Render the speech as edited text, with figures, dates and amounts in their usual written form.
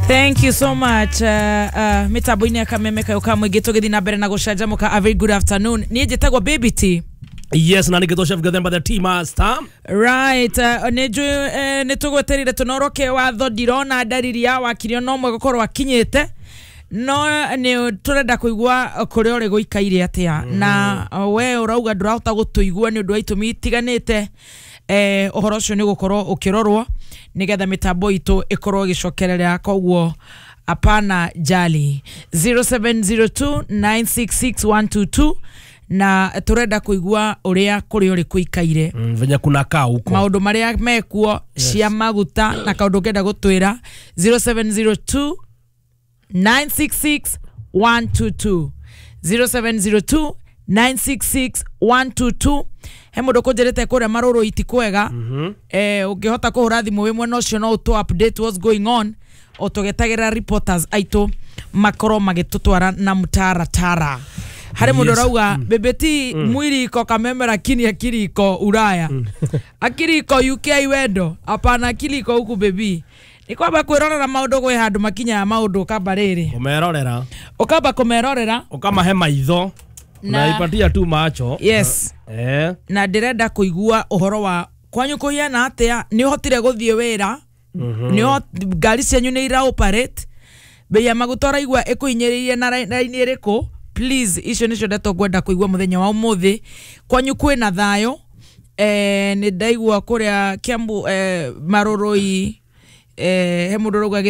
Thank you so much. Mitambo-inĩ ya Kameme kayo ka mũingĩ, tũgĩthiĩ na mbere na gũcanjamũka. A very good afternoon, niĩ njĩtagwo Baby T. Yes, na nĩngĩtwo Chef Gathemba, the tea master. Right, nĩ njũĩ nĩ tũgweterire tũnoroke watho. Ndirona ndariri ya wakiri ona ũmwe gũkorwo akinyĩte, no nĩ tũrenda kũigua kũrĩa ũrĩ gũikaire atĩa, na we ũrauga ndũrahota gũtũigua nĩ ũndũ wa itũmi itiganĩte. Ũhoro ũcio nĩ gũkorwo ũkĩrorwo nĩgetha mĩtambo itũ ĩkorwo ĩgĩcokerera, koguo hapana jali. 0702 966122, na tũrenda kũigua ũrĩa kũrĩa ũrĩ kũikaire, venye kunakaa huko, maũndũ marĩa mekuo cia maguta na kaũndũ ũngĩenda gũtwĩra. 0702 966 122, 0702 966 122. He mũndũ kũnjĩrĩte kũrĩa marũrũ iti kwega. Ũngĩhota kũhũra thimũ wĩ mwena ũcio, no ũtũ update what's going on, o tũgetagĩrĩra reporters aitũ makorwo magĩtũtwara na mtaratara. Harĩ mũndũ ũrauga, "Bebeti, mwili iko Kameme lakini akili iko Ulaya, akili iko UK. Wendo hapana, akili iko huku." Bebi, nĩ kwamba kwĩrorera maũndũ, gwĩ handũ makinyaga maũndũ ũkamba rĩrĩ Umerorera. Ũkamba kũmerorera. Ukamahe maitho, unaipatia tu macho. Yes. Na ndĩrenda kũigua ũhoro wa kwanyu kũhiana atĩa. Nĩ ũhotire gũthiĩ wĩra? Ngari cianyu nĩ ira operate? Bei ya maguta ũraigua ĩkũhinyĩrĩirie na raini ĩrĩkũ? Please, icio nĩcio ndeto ngwenda kũigua mũthenya wa ũmũthĩ. Kwanyu kwĩna thayũ? Nĩ ndaigua kũrĩa Kiambu, Marũrũi, he mũndũ ũrauga.